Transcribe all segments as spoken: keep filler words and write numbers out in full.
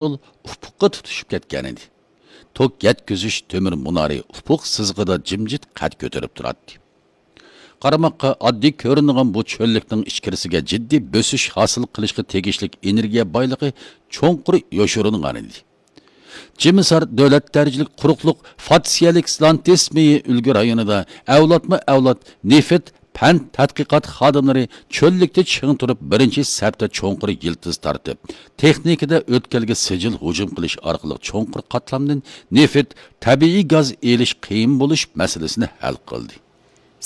يول ئۇپۇققا تۇتىشىپ كەتكەنىدى. توك يەتكۈزۈش تۆمۈر مۇنارى ئۇپۇق سىزىقىدا جىمجىت قەد كۆتۈرۈپ تۇراتتى. قارىماققا ئاددىي كۆرۈنىدىغان بۇ چۆللۈكنىڭ ئىچكىرىسىگە جىددىي بۆسۈش ھاسىل قىلىشقا تېگىشلىك ئېنېرگىيە بايلىقى چوڭقۇر يوشۇرۇنغانىدى. جىمىسار دۆلەت دەرىجىلىك قۇرۇقلۇق فاتسىيەلىك سلانتېس مېيى ئۈلگە رايونىدا ئەۋلادمۇ ئەۋلاد نېفىت پەن تەتقىقات خادىملىرى چۆللۈكتە چىڭ تۇرۇپ، بىرىنچى سەپتە چوڭقۇر يىلتىز تارتىپ، تېخنىكىدا ئۆتكەلگە سىجىل ھۇجۇم قىلىش ئارقىلىق چوڭقۇر قاتلامدىن نېفىت، تەبىئىي گاز ئېلىش قىيىن بولۇش مەسىلىسىنى ھەل قىلدى.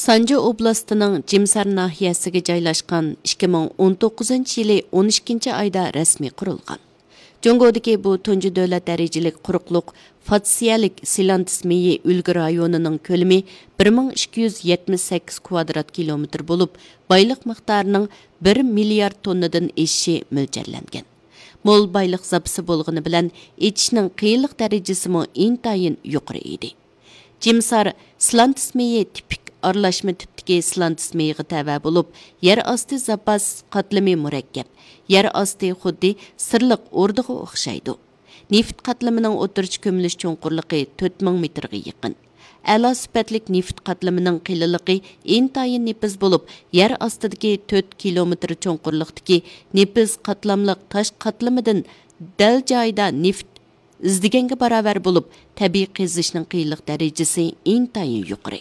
سانجى ئوبلاستىنىڭ جىمسار ناھىيەسىگە جايلاشقان ئىككى مىڭ ئون توققۇزىنچى يىلى ئون ئىككىنچى ئايدا رەسمىي قۇرۇلغان. جۇڭگودىكى بۇ تۇنجى دۆلەت دەرىجىلىك قۇرۇقلۇق فاتسىيەلىك سىلانتىس مېيى ئۈلگە رايونىنىڭ كۆلىمى بىر مىڭ ئىككى يۈز يەتمىش سەككىز كۋادرات كىلومېتىر بولۇپ، بايلىق مىقدارىنىڭ بىر مىليارد توننىدىن ئېشىشى مۆلچەرلەنگەن. مول بايلىق زاپىسى بولغىنى بىلەن، ئېچىشنىڭ قىيىنلىق دەرىجىسىمۇ ئىنتايىن يۇقىرى ئىدى. جىمسار سلانتىس مېيى تىپىك ئارىلاشما تىپتىكى سلانتىس مېيىغا تەۋە بولۇپ، يەر ئاستى زاپاس قاتلىمى مۇرەككەپ. يەر ئاستى خۇددى سىرلىق ئوردىغا ئوخشايدۇ. نېفىت قاتلىمىنىڭ ئوتتۇرىچە كۆمۈلۈش چوڭقۇرلۇقى تۆت مىڭ مېتىرغا يېقىن. ئەلا سۈپەتلىك نېفىت قاتلىمىنىڭ قېلىنلىقى ئىنتايىن نېپىز بولۇپ، يەر ئاستىدىكى تۆت كىلومېتىر چوڭقۇرلۇقتىكى نېپىز قاتلاملىق تاش قاتلىمىدىن دەل جايىدا نېفىت ئىزدىگەنگە باراۋەر بولۇپ، تەبىئىي قېزىشنىڭ قىيىنلىق دەرىجىسى ئىنتايىن يۇقىرى.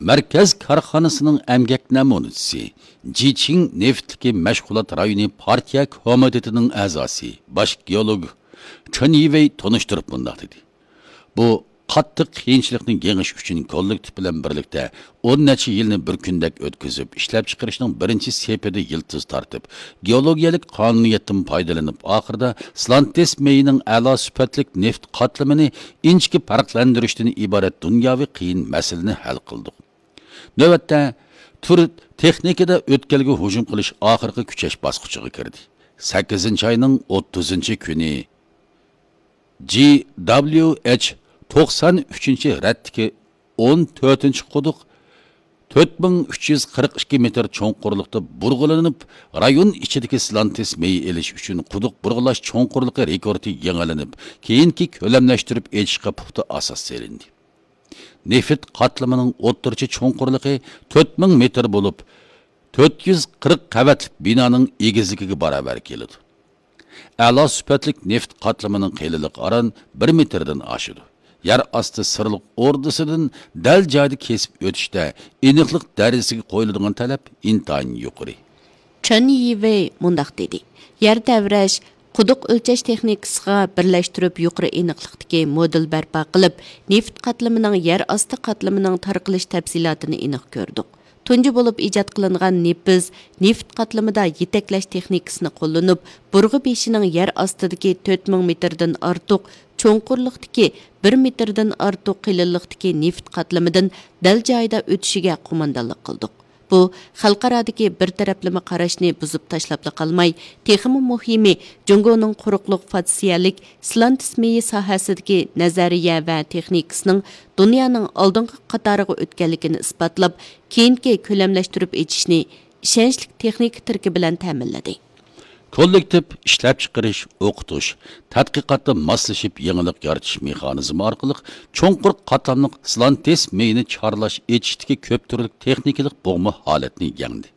مەركەز كارخانىسىنىڭ ئەمگەك نەمۇنىچىسى، جىچىڭ نېفىتلىكى مەشغۇلات رايونى پارتىيە كومىتېتىنىڭ ئەزاسى، باش گېئولوگ چېن يىۋېي تونۇشتۇرۇپ مۇنداق دېدى: بۇ قاتتىق قىيىنچىلىقنى يېڭىش ئۈچۈن كوللېكتىپ بىلەن بىرلىكتە ئون نەچچە يىلنى بىر كۈندەك ئۆتكۈزۈپ، ئىشلەپچىقىرىشنىڭ بىرىنچى سېپىدە يىلتىز تارتىپ، گېئولوگىيەلىك قانۇنىيەتتىن پايدىلىنىپ، ئاخىرىدا سلانتېس مېيىنىڭ ئەلا سۈپەتلىك نېفىت قاتلىمىنى ئىنچىكە پەرقلەندۈرۈشتىن ئىبارەت دۇنياۋى قىيىن مەسىلىنى ھەل قىلدۇق. نۆۋەتتە تۈر تېخنىكىدا ئۆتكەلگە ھۇجۇم قىلىش ئاخىرقى كۈچەش باسقۇچىغا كىردى. سەككىزىنچى ئاينىڭ ئوتتۇزىنچى كۈنى جى دابلىيۇ ئېچ توقسان ئۈچىنچى رەتتىكى ئون تۆتىنچى قۇدۇق تۆت مىڭ ئۈچ يۈز قىرىق ئىككى مېتىر چوڭقۇرلۇقتا بۇرغىلىنىپ، رايون ئىچىدىكى سلانتېس مېيى ئېلىش ئۈچۈن قۇدۇق بۇرغىلاش چوڭقۇرلۇقى رېكورتى يېڭىلىنىپ، كېيىنكى كۆلەملەشتۈرۈپ ئېچىشقا پۇختا ئاساس سېلىندى. نېفىت قاتلىمىنىڭ ئوتتۇرىچە چوڭقۇرلۇقى تۆت مىڭ مېتىر بولۇپ، تۆت يۈز قىرىق قەۋەتلىك بىنانىڭ ئېگىزلىكىگە باراۋەر كېلىدۇ. ئەلا سۈپەتلىك نېفىت قاتلىمىنىڭ قېلىنلىقى ئاران بىر مېتىردىن ئاشىدۇ. يەر ئاستى سىرلىق ئوردىسىدىن دەل جايىدا كېسىپ ئۆتۈشتە ئېنىقلىق دەرىجىسىگە قويۇلىدىغان تەلەپ ئىنتايىن يۇقىرى. چېن يىۋېي مۇنداق دېدى: يەر تەۋرەش، قۇدۇق ئۆلچەش تېخنىكىسىغا بىرلەشتۈرۈپ يۇقىرى ئېنىقلىقتىكى مودېل بەرپا قىلىپ، نېفىت قاتلىمىنىڭ يەر ئاستى قاتلىمىنىڭ تارقىلىش تەپسىلاتىنى ئېنىق كۆردۇق. تۇنجى بولۇپ ئىجاد قىلىنغان نېپىز، نېفىت قاتلىمىدا يېتەكلەش تېخنىكىسىنى قوللىنىپ، بۇرغا بېشىنىڭ يەر ئاستىدىكى تۆت مىڭ مېتىردىن ئارتۇق، چوڭقۇرلۇقتىكى بىر مېتىردىن ئارتۇق قېلىنلىقتىكى نېفىت قاتلىمىدىن دەل جايىدا ئۆتۈشىگە قوماندانلىق قىلدۇق. بۇ خەلقئارادىكى بىر تەرەپلىمە قاراشنى بۇزۇپ تاشلاپلا قالماي، تېخىمۇ مۇھىمى، جۇڭگونىڭ قۇرۇقلۇق فاتسىيەلىك سلانتېس مېيى ساھەسىدىكى نەزەرىيە ۋە تېخنىكىسىنىڭ دۇنيانىڭ ئالدىنقى قاتارىغا ئۆتكەنلىكىنى ئىسپاتلاپ، كېيىنكى كۆلەملەشتۈرۈپ ئېچىشنى ئىشەنچلىك تېخنىكا تىرىكى بىلەن تەمىنلىدى. كوللېكتىپ ئىشلەپچىقىرىش، ئوقۇتۇش، تەتقىقاتتا ماسلىشىپ يېڭىلىق يارىتىش مېخانىزمى ئارقىلىق چوڭقۇر قاتلاملىق سلانتېس مېيىنى چارلاش ئېچىشتىكى كۆپ تۈرلۈك تېخنىكىلىق بوغما ھالەتنى يەڭدى.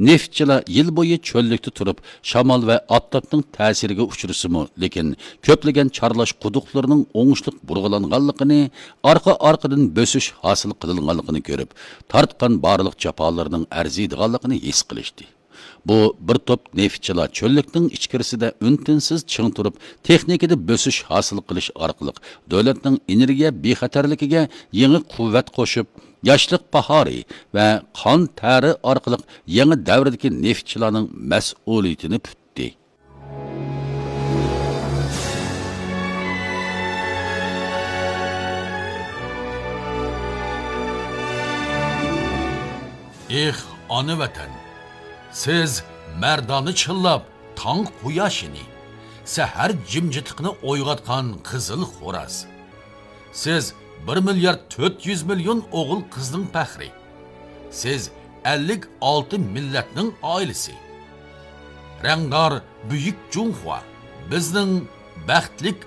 نېفىتچىلار يىل بويى چۆللۈكتە تۇرۇپ، شامال ۋە ئاپتاپنىڭ تەسىرىگە ئۇچرىسىمۇ، لېكىن كۆپلىگەن چارلاش قۇدۇقلىرىنىڭ ئوڭۇشلۇق بۇرغىلانغانلىقىنى، ئارقا-ئارقىدىن بۆسۈش ھاسىل قىلىنغانلىقىنى كۆرۈپ، تارتقان بارلىق جاپالىرىنىڭ ئەرزىيدىغانلىقىنى ھېس قىلىشتى. بۇ بىر توپ نېفىتچىلار چۆللۈكنىڭ ئىچكىرىسىدە ئۈن-تىنسىز چىڭ تۇرۇپ، تېخنىكىدا بۆسۈش ھاسىل قىلىش ئارقىلىق دۆلەتنىڭ ئېنېرگىيە بىخەتەرلىكىگە يېڭى قۇۋۋەت قوشۇپ، ياشلىق باھارى ۋە قان تەرى ئارقىلىق يېڭى دەۋردىكى نېفىتچىلارنىڭ مەسئۇلىيىتىنى پۈتتى. ئېھ، ئانا ۋەتەن! سىز مەردانە چىللاپ تاڭ قۇياشىنى، سەھەر جىمجىتلىقىنى ئويغاتقان قىزىل خوراز. سىز بىر مىليارد تۆت يۈز مىليون ئوغۇل قىزنىڭ پەخرى. سىز ئەللىك ئالتە مىللەتنىڭ ئائىلىسى. رەڭدار بۈيۈك جۇڭخۇا، بىزنىڭ بەختلىك